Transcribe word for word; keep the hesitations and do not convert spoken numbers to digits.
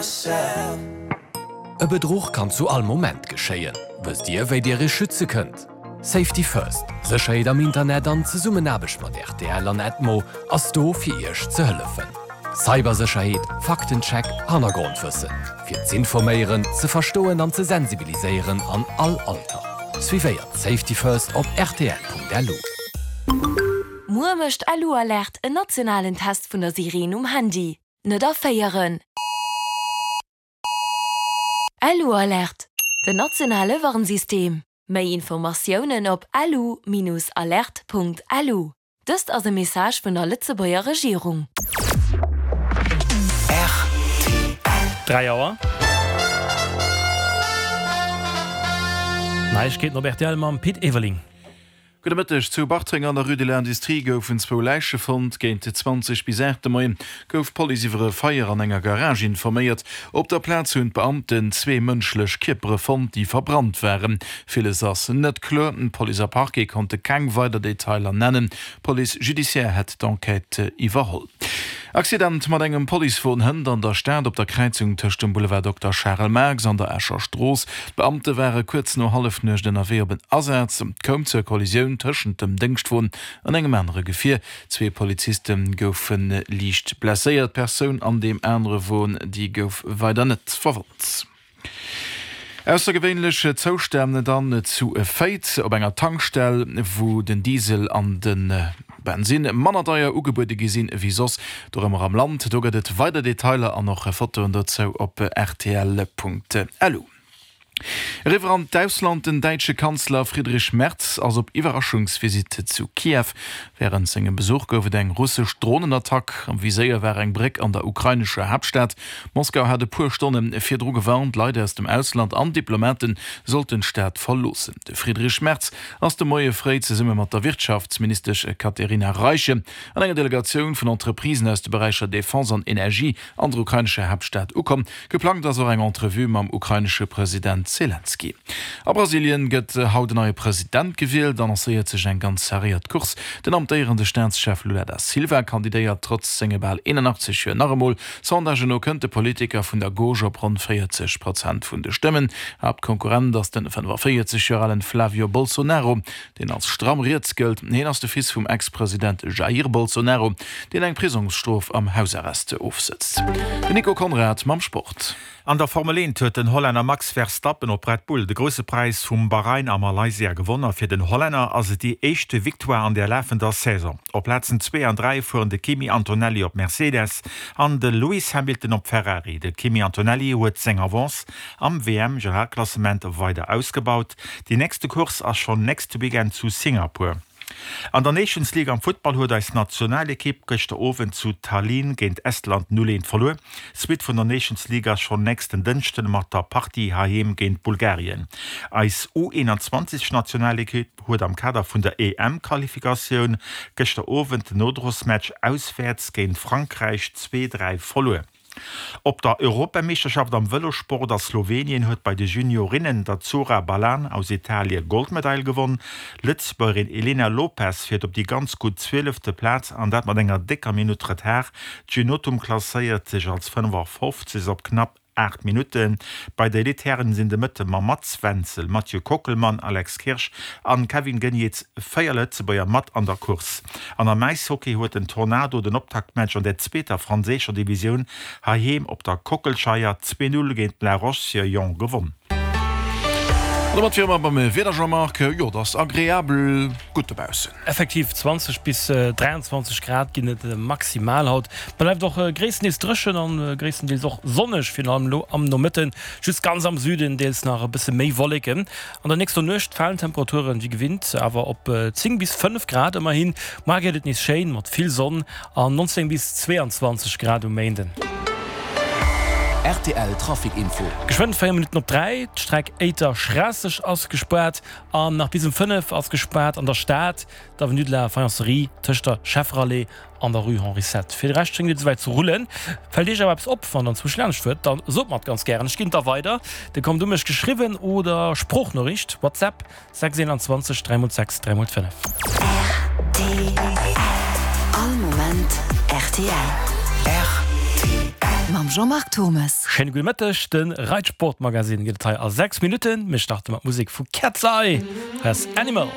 E Bedruch kann zu all Moment geschéien. Wësst Dir, wéi Dir Iech schütze kënnt? Safety First, Sécherheet am Internet an Zesummenaarbecht mat rtl an Edmo ass do fir Iech ze hëllefen. Cybersécherheet, Faktencheck, Hannergrondwëssen. Fir z'informéieren, ze verstoen an ze sensibiliséieren an all Alter. Suivéiert Safety First op rtl.lu. Muer mécht LU-Alert en nationalen Test vun der Sireen um Handy. Net erféieren! LU-Alert, den nationale Warnsystem. Méi Informatiounen op lu-alert.lu. Dëst ass e Message vun der Lëtzebuerger Regierung. Dräi Auer. Neiegkeeten op rtl mam Pit Everling. Gudde Mëtteg. Zu Bartreng an der Rue de l'Industrie goufen zwou Läiche fonnt. Géint zwanzeg bis aacht de Moien gouf d'Police iwwer e Feier an enger Garage informéiert. Op der Plaz hunn d'Beamten zwee mënschlech Kierpere fonnt, déi verbrannt waren. Villes ass net kloer. Police a Parquet konnte keng weider Detailer nennen. D'Police judiciaire hätt d'Enquête iwwerholl. Accident mat engem Policewon hënt an der Stad op der Kräizung tëscht dem Boulevard Dokter Charel Marx an der Escher Strooss. D'Beamte ware kuerz no Hallefnuecht ënnerwee op en Asaz. Et koum zur Kollisioun tëschent dem Déngschtwon an engem anere Gefier. Zwee Poliziste goufe liicht blesséiert. D'Persoun an deem anere Won, déi gouf weider net verwonnt. Aussergewéinlech Zoustänn dann zu Féiz op enger Tankstell, wou den Diesel an de Bensinn manner deier ugebuede gi sinn ewéi soss dorëmmer am Land. Do gëtt et weider Detailer an och Fotoen dozou op rtl.lu. Eriwwer an d'Ausland, Den däitsche Kanzler Friedrich Merz ass op Iwwerraschungsvisitt zu Kiew. Wärend sengem Besuch gouf et eng russesch Dronenattack. Am Viséier war eng Bréck an der ukrainescher Haaptstad. Moskau hat e puer Stonne virdru gewarnt, Leit aus dem Ausland an Diplomate sollten d'Stad verloossen. De Friedrich Merz ass de Moie fréi zesumme mat der Wirtschaftsministesch Katerina Reiche an enger Delegatioun vun Entreprisen aus de Beräicher Defense an Energie an der ukrainescher Haaptstad ukomm. Geplangt ass och eng Entrevue mam ukrainesche President Selenskyj. A Brasilien gëtt haut en neie President gewielt, annoncéiert sech eng ganz serréiert Course. Den amtéierende Staatschef Lula da Silva kandidéiert trotz senge bal eenanachtzeg Joer nach emol. Sondagen no kënnt de Politiker vun der Gauche op ronn véierzeg Prozent vun de Stëmmen. Haaptkonkurrent ass den fënnefaféierzeg Joer alen Flavio Bolsonaro, deen als stramm riets gëllt. Hien ass de Fils vum Ex-President Jair Bolsonaro, deen eng Prisongsstrof am Hausarrest ofsëtzt. Den Nico Conrad mam Sport. An der Formel eent huet den Hollänner Max Verstappen op Red Bull de Grousse Präis vum Bahrain a Malaysia gewonn a fir den Hollänner ass et déi éischte Victoire an der lafender Saison. Op Plazen zwee an dräi fueren de Kimi Antonelli op Mercedes an de Lewis Hamilton op Ferrari. De Kimi Antonelli huet seng Avance am W M-Generalklassement weider ausgebaut. Déi nächste Course ass schonn nächste Weekend zu Singapur. An der Nations League am Futtball huet eis Nationalekipp gëschter Owend zu Tallinn géint Estland null eent verluer. D'Suite vun der Nations League ass schonn nächsten Dënschden mat der Partie heiheem géint Bulgarien. Eis U eenanzwanzeg Nationalekipp huet am Kader vun der E M-Qualifikatioun gëschter Owend den Nodrosmatch auswäerts géint Frankräich zwee dräi verluer. Op der Europameeschterschaft am Vëlosport a Slowenien huet bei de Juniorinnen der Zora Balan aus Italie Goldmedail gewonn. Lëtzebuergerin Elena Lopes fiert op déi ganz gutt zwielefte Plaz an dat mat enger décker Minutt Retard. D'Junotum klasséiert sech als fënnefafofzeg op knapp aacht Minutten. Bei der Elite-Hären sinn de Mëtte mam Mats Wenzel, Mathieu Kockelmann, Alex Kirsch an Kevin Geniets véier Lëtzebuerger mat an der Course. An am Äishockey huet den Tornado den Optaktmatch an der zweeter franséischer Divisioun heiheem op der Kockelscheier zwee Null géint La Roche-sur-Yon gewonn. An domat wiere mer beim Wieder, Jean-Marc. Jo, et ass agreabel gutt dobaussen. Effektiv, zwanzeg bis dräianzwanzeg Grad ginn et maximal haut. Et bleift och gréisstendeels dréchen an gréisstendeels och sonneg, virun allem elo am Nomëtten. Just ganz am Süden deels nach e bësse méi Wolleken. An der nächster Nuecht falen d'Temperaturen wéi gewinnt awer op zéng bis fënnef Grad. Ëmmerhin, muar gëtt et nees schéin mat vill Sonn an nonzéng bis zweeanzwanzeg Grad um Méinden. R T L Trafic Info. Geschwënn véier Minutten op dräi, d'Streck Éiter-Schraasseg ass gespaart an nach bis um fënnef ass gespaart an der Stad, d'Avenue de la Faïencerie tëscht der Schefferallée an der Rue Henri sept. Fir de Rescht schéngt et esouwäit ze rullen. Fält Iech awer eppes op, wann der anzwousch laanscht fuert, dann sot mer et ganz gären. Ech ginn et da weider. Dir kommt u mech geschriwwen oder Sproochnoriicht, WhatsApp, sechs eenanzwanzeg dräi mol sechs dräi mol fënnef. R T L. All Moment R T L. R T L. Mam Jean-Marc Thommes. Schéine gudde Mëtteg, de Reitsportmagazin gëtt et hei a sechs Minutten. Mir starte mat Musek vu Cat's Eye, hei ass Animal.